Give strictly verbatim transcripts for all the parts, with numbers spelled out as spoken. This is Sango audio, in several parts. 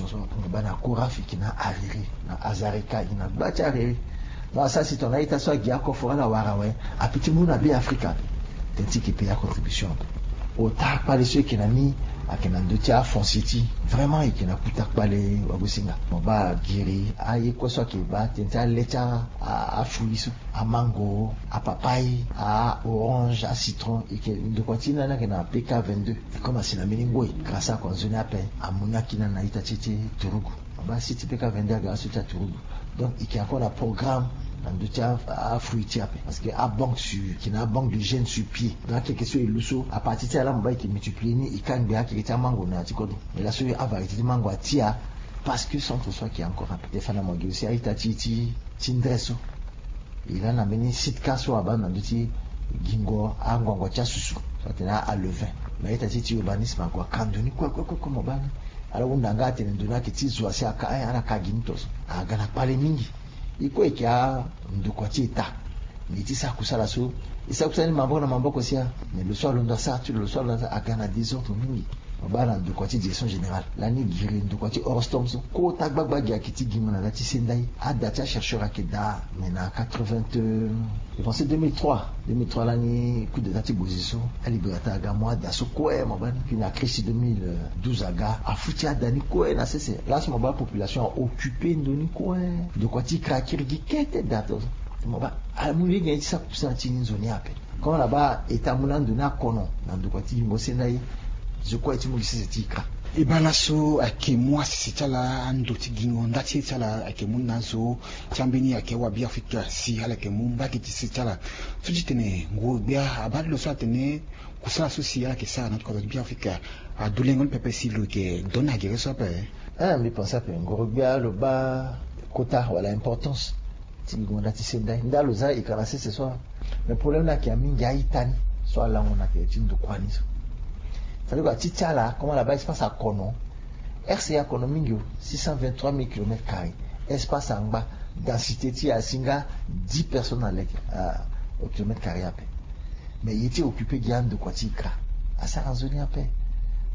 Mo baa na Coraf, e yeke na Hariri, na Azarika, e yeke na gba ti Hariri. Donc asara si tongana a-ita so agi akoforo ala wara awe, ape ti mu na Be Afrika ape. Tënë ti e yeke payer acontribution ape. Ota kpale so e yeke na ni ayeke na ndö ti afoncier ti e. Vraiment e yeke na kota kpale wagosinga. Mo baa giri aye kue so ayeke baa tënë ti ale ti a, a, afruit so, amango, apapaye, a-orange, acitron. E yeke ndokua ti e ni ayeke na P K vingt-deux. Comme asi na mbeni ngoi, grâce ako na nzoni ape, amu ni akiri na a-ita ti e ti turugu. Mo baa si ti P K vingt-deux aga laso ti aturugu. Donc e yeke encore na programme na ndö ti a, afruit ti e ape. Parce que abanque sur, e yeke na abanque de gènes sur pied. Donc akeke so e lu so, à partir ti ala mo baa e yeke multiplier ni, e kangbi akeke ti amango na ya ti kodro. Mais laso avariété ti mango atia, parce que centre so ayeke encore ape. Te fa na mo gi aussi a-ita ti e ti, ti ndre so. E lani na mbeni sitka so abaa na ndö ti gingo anguangu ti asusu so atene a-levain. Mais a-ita ti e ti urbanisme ague aka ndo ni kue kue kue kue, mo baa ni. Ala hunda nga atene ndo ni ayeke ti zo asi aka, eh, ala ka gi ni to so. Aga na kpale mingi. E kue e yeke andokua ti État. Mais e ti sara kusala so, e sara kusala ni maboko na maboko sia. Mais lo so alondo asara ti lo, lo so alondo asara, aga na désordre mingi. Mo baa na ndokua ti direction générale lani, giri ndokua ti Orostom so, kota gbagba gi ayeke ti gi mo na ndö ti senda ye. Ada ti achercheur ayeke daa, mais na quatre-vingts, euh, je pense deux mille trois, deux mille trois lani coup d'état ti Bozi so, a Libérateur aga mu ada so kue, mo baa ni. Puis na crise ti deux mille douze aga, afuti ada ni kue na sese. Laso mo baa population a occuper ndo ni kue. Ndokua ti kra akiri gi kete daa to. Mo baa amu lege ni ti sara kusala ti ni nzoni ape. Comme na baa État amu na ndo ni akono na ndokua ti gingo senda ye, zo kue ti mu gi sese ti e kra. E baa laso ayeke mu asese ti ala, ando ti gingo nda ti e ti ala ayeke mu na azo ti ambeni ayeke awa Beafrika si ala yeke mu mbage ti sese ti ala. So ti tene nguru-gbia abaa ti lo so atene kusala so si ala yeke sara na yanga ti kodro ti Beafrika adulengo ni pepe si lo yeke donda gere so ape. Eh, mbi pense ape nguru-gbia lo baa kota wala importance ti gingo nda ti senda ye. Nda lo zia e kra na sese so. Mais problème ni ayeke ya mingi a-ita ni so alango na tere ti ndokua ni so. C'est-à-dire ti ti ala, comme ala baa espace akono, R C A akono mingi o, six cent vingt-trois mille kilomètres carrés. Espace angba, densité ti e asi nga dix personnes à l'hectare, euh, au kilomètre carré ape. Mais e ye ti occuper gi andokua ti e kra, asara nzoni ape.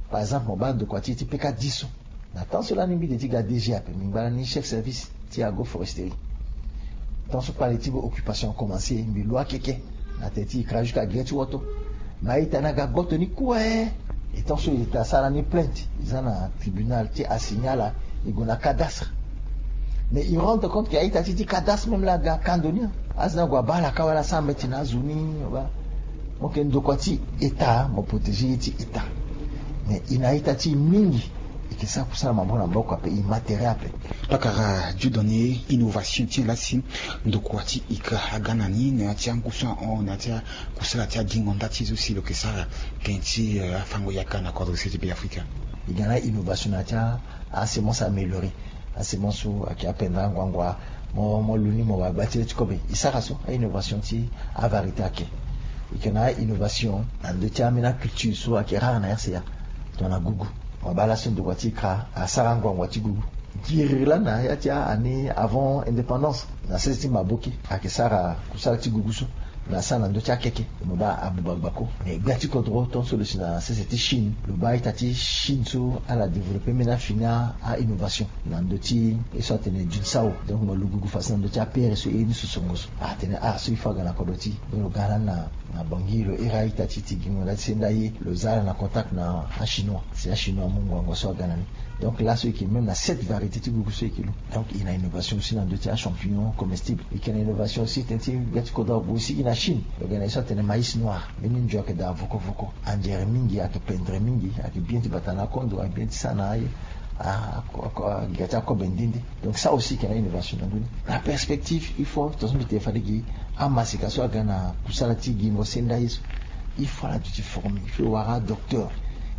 Par exemple mo baa ndokua ti e ti P K dix so. Na temps so lani mbi de ti ga D G ape, mbi ngba lani chef service ti agroforesterie. Temps so kpale ti occupation acommencer, mbi lu akeke na tere ti e kra jusqu'à gere ti woto. Mais a-ita ni aga gboto ni kue. Et temps so e ta sara ni plainte, e za na tribunal ti assigner ala, e gue na cadastre. Mais e rendre compte que a-ita ti e ti cadastre même laa aga ka ndo ni. Azo ni ague abaa ala ka wala asara mbeti na azo ni, mo baa. Mo yeke ndokua ti État, mo protéger ye ti État. Mais e na a-ita ti e mingi, e yeke sara kusala maboko na maboko ape, e matériel ape. Pakara Dieudonné, innovation ti e laa si ndokua ti e kra aga na ni na ya ti angu so ahon na ya ti akusala ti agingo nda ti e so si lo yeke sara tënë ti, eh, afango yaka na kodro se ti Beafrika. E ga na innovation na ya ti a, asemence améliorée. Asemence so ayeke apendre anguangu, mo, mo lu ni mo wara gba ti le ti kobe. E sara so a-innovation ti avariété ayeke. E yeke na a-innovation na ndö ti ambeni aculture so ayeke rare na R C A. Tongana gugu. Mo baa laso ndokua ti e kra asara anguangu ti gugu. Giri lani na ya ti a-année avant indépendance, na sese ti maboke ayeke sara kusala ti gugu so. Na asara na ndö ti akeke, mo baa abuba gbako. Mais gbia ti kodro tongaso lo si na sese ti Chine, lo baa a-ita ti Chine so ala développer mbeni afini a-innovation na ndö ti ye so atene Junsao. Donc mo lu gugu fadeso na ndö ti apere so e ye ni sosongo so. Atene ah so il faut aga na kodro ti e. Lo ga lani na, na Bangui, lo iri a-ita ti e ti gingo nda ti senda ye, lo za ala na contact na achinois. Si achinois amu ngongo so aga na ni. Donc laso e yeke même na sept variétés ti gugu so e yeke lu. Donc e na innovation aussi na ndö ti achampignon comestible. E yeke na innovation aussi tënë ti gbia ti kodro ague aussi e na Chine. Lo ga na ye so atene maïs noir. Mbeni nzo ayeke daa voko voko. Anzere mingi, ayeke pendre mingi, ayeke bien ti bata na akondo, ayeke bien ti sara na aye. A, a, a, a, gi ti akobe nde nde. Donc ça aussi e yeke na innovation na ndö ni. Na perspective, il faut, tongaso mbi tene fade gi amaseka so aga na kusala ti gingo senda ye so. Il faut ala duti former, il faut e wara adocteur,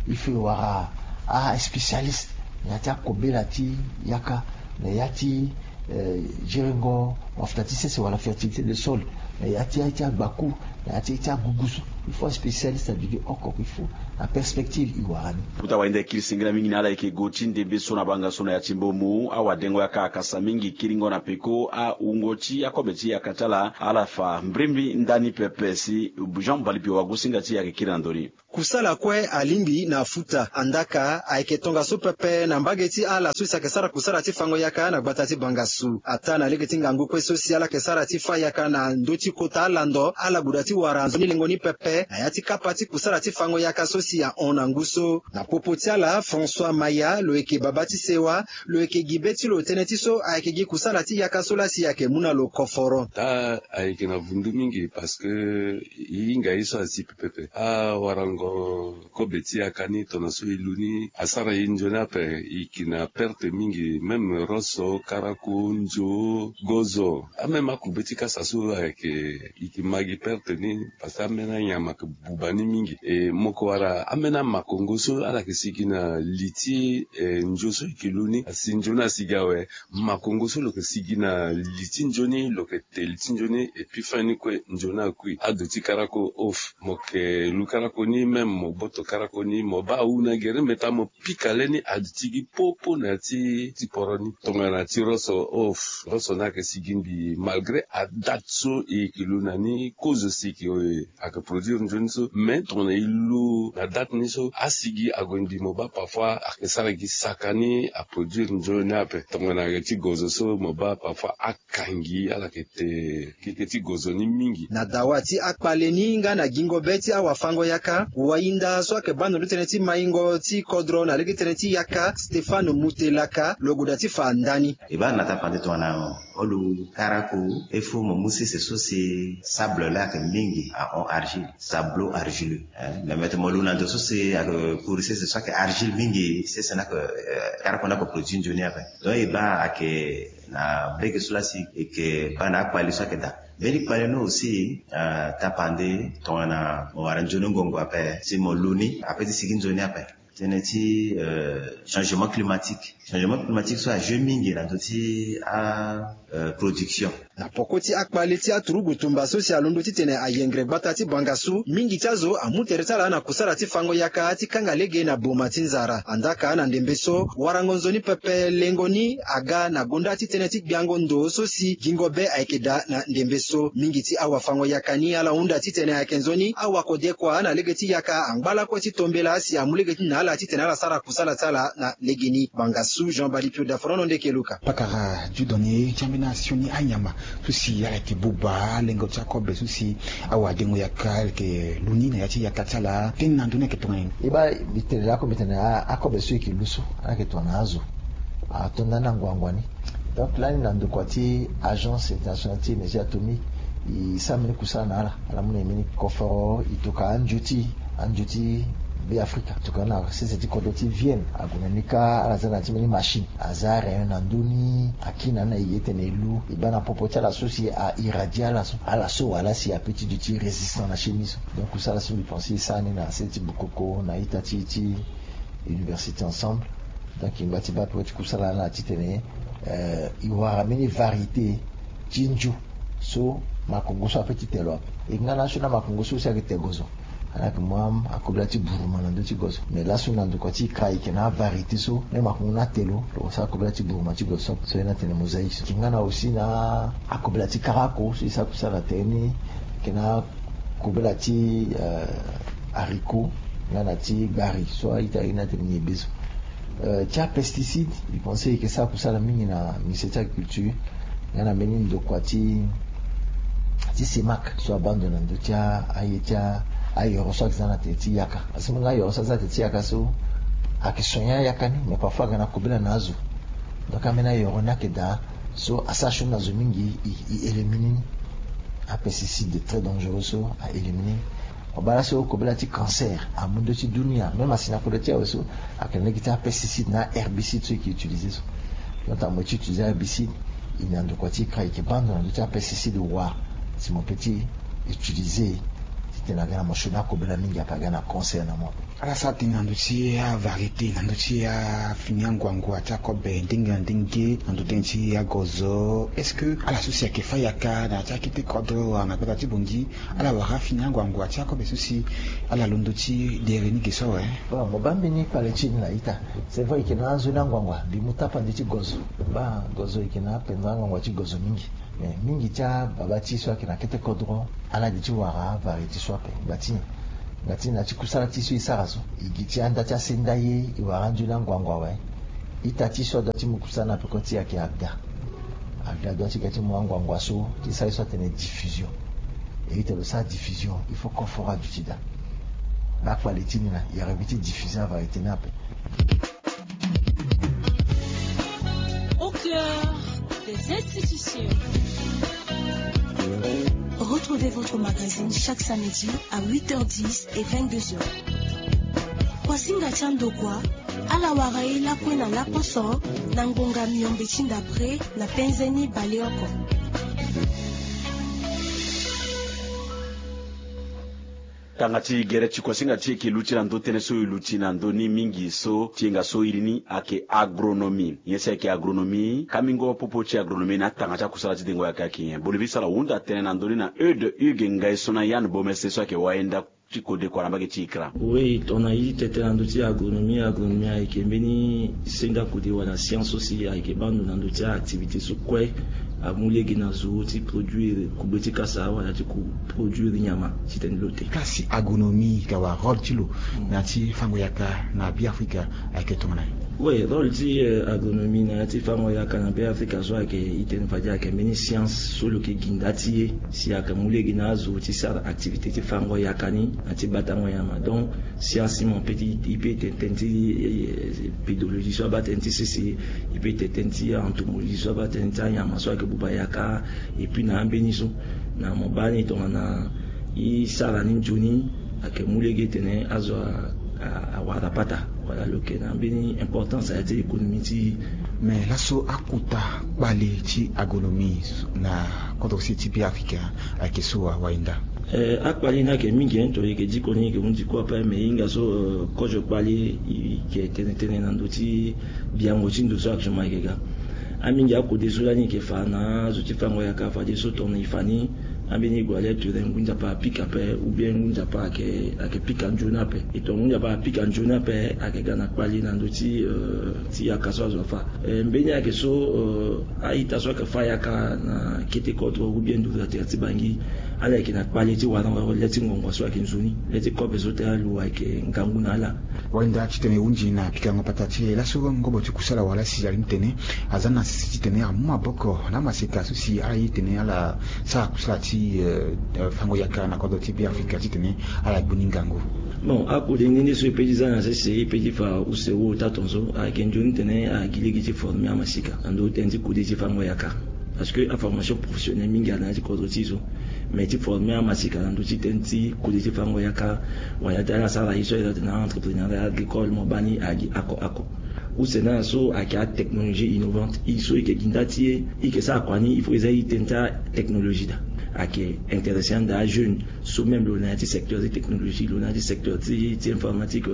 il faut e wara aspécialiste na ya ti akobela ti yaka, na ya ti, eh, gerengo mafuta ti sese wala fertilité de sol, na ya ti, ya ti agbaku, na ya ti, ya ti agugu so. Il faut aspécialiste aduti oko, il faut na perspective e wara ni. Kota wainda e kiri singila mingi na ala yeke gue ti ndembe so na banga so na ya ti Mbomou, awadengo yaka akasa mingi kiringo na peko awungo ti akobe ti yaka ti ala, ala fa mbrimbri ndani pepe si Jean Mbalipi wagosinga ti e ayeke kiri na ndoni. kusala kue alingbi na futa. Andaka ayeke tongaso pepe na mbage ti ala so si ayeke sara kusala ti fango yaka na gbata ti Bangassou. Ataa na lege ti ngangu kue so si ala yeke sara ti fa yaka na ndö ti kota alando, ala guda ti wara nzoni lengo ni pepe na ya ti kapa ti kusala ti fango yaka so si ahon na ngu so. Na popo ti ala, François Maya, lo yeke baba ti sewa, lo yeke gi be ti lo tënë ti so ayeke gi kusala ti yaka so laa si ayeke mu na lo koforo. Taa ayeke na vundu mingi parce que e hinga ye so asi pepe. Awarango kobe ti yaka ni tongana so e lu ni asara e nzoni ape, e yeke na perte mingi, même roso, karako, nzo, gozo, amême akube ti kasa so ayeke, e yeke ma gi perte ni. Parce que ambeni anyama ayeke buba ni mingi. E mo yeke wara ambeni amakongo so ala yeke sigi na li ti, eh, nzo so e yeke lu ni. Asi nzoni asigi awe, makongo so lo yeke sigi na li ti nzoni, lo yeke te li ti nzoni, et puis fin ni kue nzoni akui. Ado ti karako off, mo yeke lu karako ni, même mo boto karako ni, mo baa awu na gere meta mo pika le ni aduti gi popo na ya ti, ti poro ni. Tongana ti roso off, roso ni ayeke sigi mbi malgré adate so e yeke lu na ni, kozo si e yeke, eh, ayeke produire nzoni so, mais tongana e lu na date ni so, asigi ague mbi mo baa parfois ayeke sara gi saka ni aproduire nzoni ape. Tongana ayeke ti gozo so mo baa parfois akangi ala yeke te keke ti gozo ni mingi. Na dawa ti akpale ni nga na gingo be ti awafango yaka, wayinda so ayeke baa na ndö ti tënë ti maingo ti kodro na lege ti tënë ti yaka, Stéphane Mutelaka, lo goda ti fa ndani. E baa na tapande tongana olo karako, il faut mo mu sese so si sable laa ayeke mingi ahon, argile, sablo argileux. Eh, me mete mo lu na ndo so si ayeke kuri sese so ayeke argile mingi, sese ni ayeke, eh, karako ni ayeke produire nzoni ape. Donc e baa ayeke na mbege so laa si e yeke baa na akpale so ayeke daa. Mbeni kpale ni aussi, eh, tapande tongana mo wara nzoni ngongo ape si mo lu ni ape ti sigi nzoni ape. Tënë ti, euh, changement climatique. Changement climatique so ajoue mingi na ndö ti a, euh, production. Na poko ti akpale ti aturugu tumba so si alondo titene ayengre gbata ti Bangassou, mingi ti azo amu tere ti ala na kusala ti fango yaka ti kanga lege na boma ti nzara. Andaka na ndembe so, warango nzoni pepe lengo ni aga na gonda ti tënë ti gbiango ndo so si gingo be ayeke daa na ndembe so. Mingi ti awafango yaka ni ala hunda titene ayeke nzoni awakode kua na lege ti yaka angba lakue ti tombela si amu lege ti na ala titene ala sara kusala ti ala na legeni. Bangassou, Jean Bali Pio Daforono, ndeke Luka. Pakara Dieudonné ti ambeni asioni anyama so si ala yeke buba, alengo ti akobe so si awadengo yaka ala yeke lu ni na ya ti yaka ti ala. Tënë na ndö ni ayeke tongana nyen? E baa mbi tene lakue mbi tene a, akobe so e yeke lu so ala yeke tongana azo. Ato ndani na ngwangwa ni. Donc lani na ndokua ti Agence Internationale ti Énergie Atomique, e sara mbeni kusala na ala. Ala mu na e mbeni koforo, e toka anzio ti, anzio ti Beafrika. Toka na sese ti kodro ti Vienne, ague na ni kâ, ala za na ya ti mbeni machine. Aza arayon na ndö ni, akiri na ni na e gi tene e lu, e baa na popo ti ala so si a irradier ala so, ala so wala si a peut ti duti résistant na chimie so. Donc kusala so mbi pense e sara ni na sese ti Bukoko na ita ti, ti Université Ensemble. Donc e ngba ti baa ape ti kusala na ala titene, euh, e wara mbeni variété ti nzio so makongo so a peut ti te lo ape. E nga na asioni amakongo so si ayeke te gozo, ala yeke mu akobela ti buruma na ndö ti gozo. Mais laso na ndokua ti e kâ e yeke na avariété so même makongo ni ate lo, lo sara kobela ti buruma ti gozo so, so e na tene mosaïque so. E yeke nga na aussi na akobela ti karako so e sara kusala na tere ni. E yeke na kobela ti, euh, haricot nga na ti gbari so a-ita e na tene nyen be so. Euh, ti apesticide, mbi pense e yeke sara kusala mingi na ministère ti agriculture nga na mbeni ndokua ti, ti CEMAC so abaa ndo na ndö ti a, aye ti a, ayoro so ayeke za na tere ti yaka. Parce que mbeni ayoro so aza na tere ti yaka so ayeke soigner ayaka ni, mais parfois aga na kobela na azo. Donc ambeni ayoro ni ayeke daa so asara sioni na zo mingi, e, e éliminer ni. Apesticide très dangereux so a éliminer ni. Mo baa laso kobela ti cancer amu ndö ti dunia, même asi na kodro ti e awe so ayeke na lege ti apesticide na aherbicide so e yeke utiliser so. Donc tongana mo ye ti utiliser aherbicide, e na ndokua ti e kâ e yeke baa ndo na ndö ti apesticide wa si mo peut ti utiliser titene aga na mo sioni akobela mingi ape aga na cancer na mo. Ala sara tënë na ndö ti avariété, na ndö ti afini anguangu ti akobe ndenge na ndenge, na ndö tënë ti agozo. Est-ce que ala so si ayeke fâ yaka na ya ti akete kodro wala na gbata ti Bangui, ala wara afini anguangu ti akobe so si ala londo ti dere ni ge so awe? Bon, mo baa mbeni kpale ti e ni na ita. C'est vrai e yeke na anzoni anguangu, mbi mu tapande ti gozo. Baa gozo e yeke na apenza anguangu ti gozo mingi. Mais mingi ti ababa ti e so ayeke na kete kodro, ala di ti wara avariété so ape. Ngba ti nyen? Nga ti na ti kusala ti so e sara so, e gi ti anda ti asenda ye, e wara anzoni anguangu awe. Ita ti so adua ti mu kusala na peko ti e ayeke aga. Aga adua ti ga ti mu anguangu so ti sara ye so atene diffusion. E ita lo sara diffusion, il faut koforo aduti daa. Akpali ti ni na e revue ti diffusion avariété ni ape. Au cœur des institutions. Retrouvez votre magazine chaque samedi à huit heures dix et vingt-deux heures. Kuasinga ti andokua, ala wara ye lakue na laposo, na ngonga miombe ti ndapre na penze ni baleoko. Tanga ti gere ti kuasinga ti e yeke luti na ndö tënë so e luti na ndö ni mingi so ti hinga so iri ni ayeke agronomie. Nyen si ayeke agronomie? Kamingo popo ti agronomie na atanga ti akusala ti dengo yaka ayeke nyen? Boni vi sara hunda tënë na ndö ni na Eude Hugues Ngai so na Yann Bomese so ayeke wayenda ti kodekua na mbage ti ikra. Oui, tongana e tete na ndö ti agronomie, agronomie ayeke mbeni senga kode wala science so si ayeke baa ndo na ndö ti a-activité so kue amu lege na zo ti produire kugbe ti kasa wala ti ku produire nyama titene lo te. Kasi agronomie ka wara rôle ti lo na ya ti fango yaka na Beafrika ayeke tongana nyen? Oui, rôle ti, euh, agronomie na ya ti fango yaka na Beafrika so ayeke, e tene fade ayeke mbeni science so lo yeke gi nda ti e si ayeke mu lege na azo ti sara activité ti fango yaka ni na ti batango nyama. Donc science ti mo peut ti, e peut tene tënë ti, eh, pédologie so abaa tënë ti sese, e peut tene tënë ti entomologie so abaa tënë ti anyama so ayeke buba yaka, et puis na ambeni so na mo baa ni tongana e sara ni nzoni ayeke mu lege tene azo a, a, awara pata wala lo yeke na mbeni importance na ya ti économie ti e. Mais laso akota kpale ti agronomie na kodro sese ti Beafrika ayeke so awayenda? Eh, akpale ni ayeke mingi, hein, to e yeke diko ni e yeke hundi kue ape, mais e hinga so, euh, kozo kpale e yeke tene tënë na ndö ti biango ti ndo so actuellement e yeke ga. Amingi akode so lani e yeke fa na azo ti fango yaka fadeso tongana e fa ni, ambeni e gue alia ture ngu nzapa apika ape, ou bien ngu nzapa ayeke, ayeke pika nzoni ape. E tongana ngu nzapa apika nzoni ape, ayeke ga na kpale na ndö ti, euh, ti yaka so azo afa. Eh, mbeni ayeke so, euh, a-ita so ayeke fa yaka na kete kodro ou bien nduru na tere ti Bangui, ala yeke na kpale ti warango le ti ngongo so ayeke nzoni, le ti kobe so tene alu ayeke ngangu na ala. Wayenda titene e hunzi na pikango pata ti e laso ngobo ti kusala wala si ali ni tene aza na sese titene amu maboko na amaseka so si ala ye tene ala sara kusala ti, eh, eh, fango yaka na kodro ti Beafrika titene ala gbu ni ngangu. Bon, akode nde nde so e peut ti za na sese, e peut ti fa use wu ota tongaso, ayeke nzoni titene ala gi lege ti former amaseka na ndö ti tënë ti kode ti fango yaka. Parce que aformation professionnelle mingi ayeke na ya ti kodro ti e so. Mais ti former amaseka na ndö ti tënë ti kode ti fango yaka, wala ti ala sara ye so ayeke na entrepreneuriat agricole, mo baa ni agi oko oko. Use na ala so ayeke atechnologie innovante, e so e yeke gi nda ti e, e yeke sara kua ni, il faut e za e tënë ti atechnologie daa. Ayeke intéresser ande ajeune so même lo na ya ti secteur ti technologie, lo na ya ti secteur ti, ti informatique,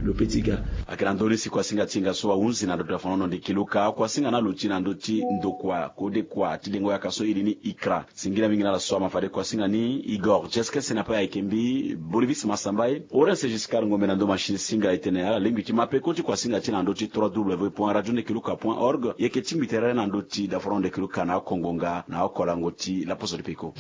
lo peut ti ga. Ayeke na ndö ni si kuasinga ti hinga so ahunzi na ndo ti dafango-nondo Keluka, kuasinga ni alo ti na ndö ti ndokua kodekua ti dengo yaka so iri ni ICRA. Singila mingi na ala so ama fade kuasinga ni. Igor Jeskes na pe ayeke mbi Bolivis Masambaye, Orens Giscard Ngombe na ndo machine singa e tene ala lingbi ti ma peko ti kuasinga ti e na ndö ti trois W point radio nde keluka point org. E yeke tingbi tere na ndö ti dafango-nondo Keluka na oko ngonga na oko lango ti laposo ti peko.